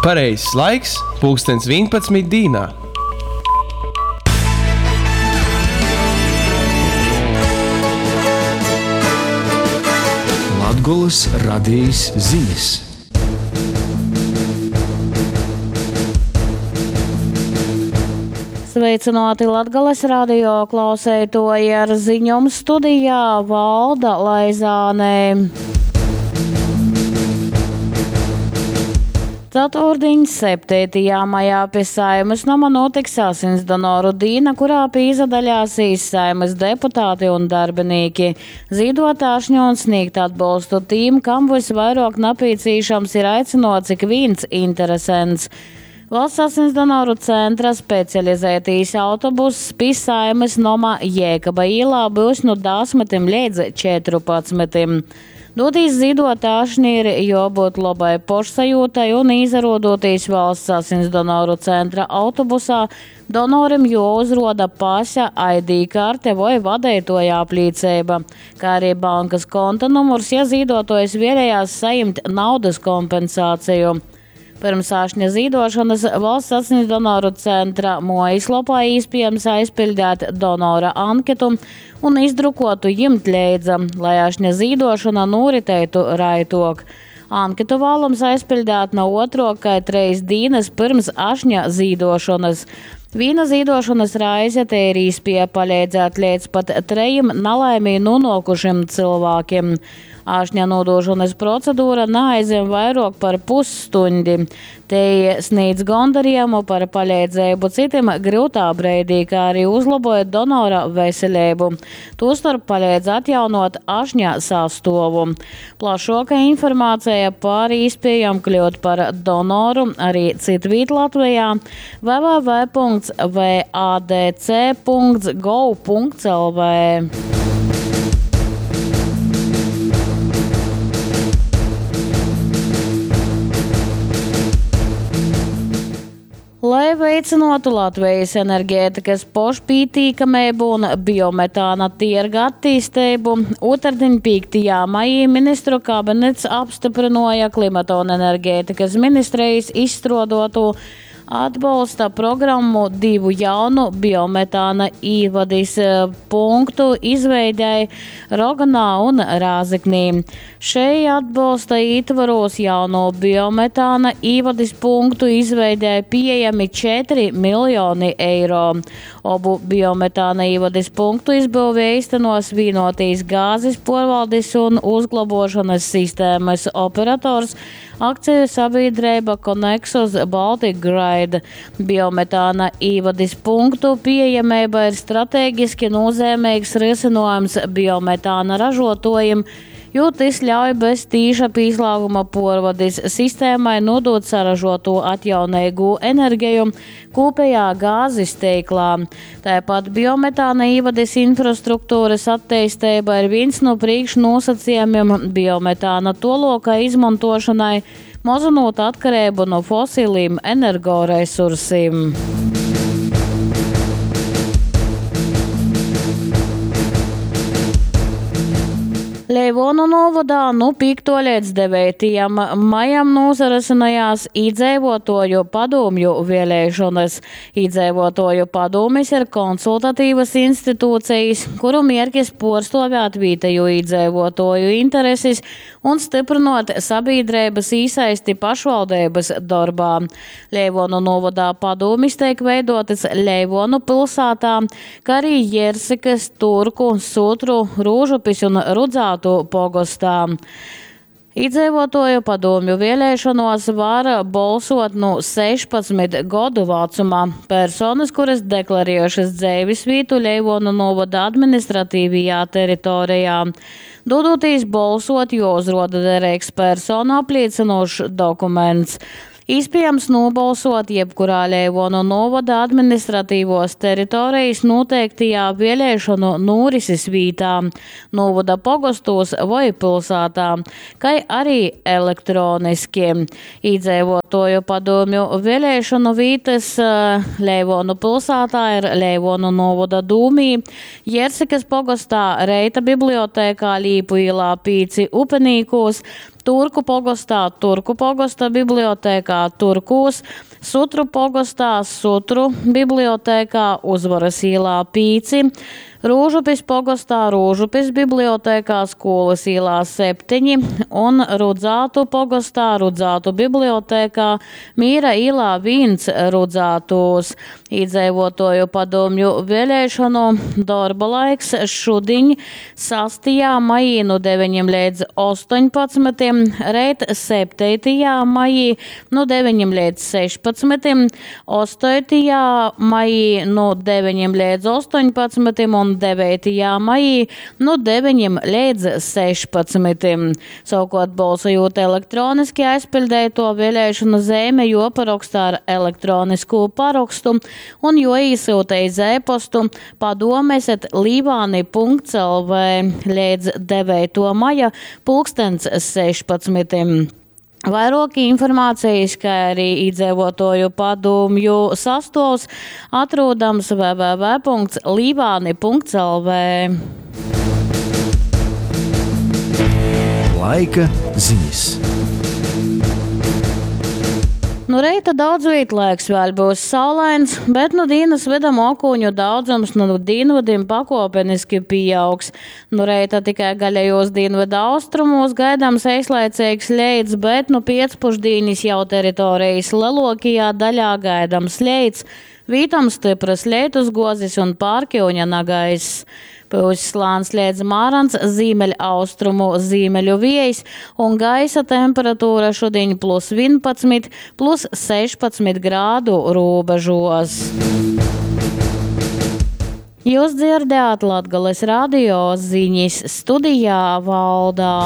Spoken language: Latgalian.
Pareizs laiks pulkstens 11 dīnā. Latgolys radejis zinis. Sveicināti Latgales radio klauseitoji ar ziņom studijā Valda Laizāne. Ceturtdiņ, 7. maijā pie Saeimas noma notiks asinsdonoru dīna, kurā pīzadaļāsīs Saeimas deputāti un darbinīki. Zīdot ašņu un sniegt atbolstu tīm, kam visvairāk napīcīšams, ir aicinots ik vīns interesents. Valsts asinsdonoru centra specializētīs autobuss pi Saeimas noma Jēkaba īlā byus nu 10 līdz 14. Dūtīs zīdot ašņi ir juobūt lobai pošsajūtai un īsarodotīs Valsts asinsdonoru centra autobusā, donorim juouzruoda pase, ID karte voi vadeituoja aplīceiba, kā arī bankas konta numurs, ja zīduotuojs vēlējās sajimt naudas kompensāciju. Pirms ašņa zīdošanas Valsts asinsdonoru centra muojaslopā īspiejams aizpildēt donora anketu un izdrukotu jimt leidza, lai ašņa zīdošana noritētu raitok. Anketu vālams aizpildēt no otrok kai treis dīnas pirms ašņa zīdošanas. Vīna zīdošanas raize te ir īspēja palīdzēt līdz pat trejim nalaimī nonākušiem cilvēkiem. Ašņa nodošanas procedūra neaizņem vairāk par pusstundi. Te sniedz gondarījumu par palīdzību citim grūtā breidī, kā arī uzlaboja donora veselību. Tostarp palīdz atjaunot ašņa sastovu. Plašāka informācija par īspējām kļūt par donoru arī citvīt Latvijā www.vadc.gov.lv. Lai veicinātu Latvijas enerģētikas pošpītīkamību un biometāna tirga attīstību, otrdiņ 5. maijā ministru kabinets apstiprināja Klimata un enerģētikas ministrijas izstrādāto atbalsta programmu divu jaunu biometāna īvadis punktu izveidei Roganā un Rāzeknī. Šei atbalsta ietvaros jauno biometāna īvadis punktu izveidē pieejami 4 miljoni eiro. Obu biometāna īvadis punktu izbūvi īstenos vienotīs gāzes porvaldis un uzglabošanas sistēmas operators akciju sabiedrība Conexus Baltic Grid. Biometāna īvadis punktu pieejamība ir strateģiski nozīmīgs risinājums biometāna ražotājiem, jo tas ļauj bez tīša pīslāguma porvadis sistēmai nodot saražoto atjaunīgo enerģiju kopējā gāzes teiklā. Tāpat biometāna īvadis infrastruktūras attīstība ir viens no priekšnosacījumiem biometāna toloka izmantošanai, mazinot atkarību no fosiliem energoresursiem. Leivonu novadā nu 5. līdz 9. maijam nozarasinājās iedzīvotoju padomju vēlēšanas. Iedzīvotoju padomis ir konsultatīvas institūcijas, kuru mierkis porstovēt vietējo iedzīvotoju intereses un stiprinot sabiedrības īsaisti pašvaldības darbā. Leivonu novadā padomis tiek veidotas Leivonu pilsētā, kā arī Jersikas, Turku, Sutru, Rūžupis un Rudzātu pogostā. Iedzīvotoju padomju vēlēšanos var balsot no 16 gadu vecumā. Personas, kuras deklarējušas dzīves vietu Leivonu novada administratīvajā teritorijā. Dodoties balsot, jo uzroda derīgs personu apliecinošs dokuments. Iespējams nobalsot jebkurā Leivonu novada administratīvos teritorijas noteiktajā vēlēšanu norises vītā, novada pogostos vai pilsētā, kā arī elektroniski. Iedzīvotoju padomju vēlēšanu vītas Leivonu pilsētā ir Leivonu novada dūmī, Jersikas pogostā Reita bibliotēkā Līpu ielā 5 Upenīkos, Turku pogostā Turku pogosta bibliotekā Turkūs, Sutru pogostā Sutru bibliotekā Uzvaras īlā 5, Rūžupis pogostā Rūžupis bibliotekā Skūlys īlā 7 un Rudzātu pogostā Rudzātu bibliotekā Mīra īlā 1 Rudzātūs. Īdzeivuotuoju padūmju vieleišonu dorba laiks šudiņ 6. maijī nu 9 leidz 18, reit 7. maijī nu 9 leidz 16, 8. maijī nu 9 leidz 18 un 9. maijī nu 9 leidz 16. Savukuort bolsojūt elektroniski aizpiļdeituo vieleišonu zeime juoparoksta ar elektroniskū parokstu un juoīsyuta iz e-postu padomes@līvāni.lv leidz 9. maja pulkstens 16. Vairuok informacejis, kai ari īdzeivuotuoju padūmju sastuovs atrūdams www.līvāni.lv. Laika zinis. Nu reita daudzvīt laiks vēļ byus saulains, bet nu dīnas vyda mokūņu daudzums nu dīnvydim pakuopeniski pīaugs. Nu reita tikai gaļajos dīnvyda austrumūs gaidams eislaiceigs leits, bet nu piecpušdīnis jau teritorijas leluokajā daļā gaidams leits, vītom styprys leitusguozis un pārkiuņa nagaiss. Pyuss lāns leidz mārans zīmeļaustrumu zīmeļu viejs un gaisa temperatūra šudiņ plus 11, plus 16 grādu rūbežos. Jūs dzirdējāt Latgales radio ziņas studijā Valdā.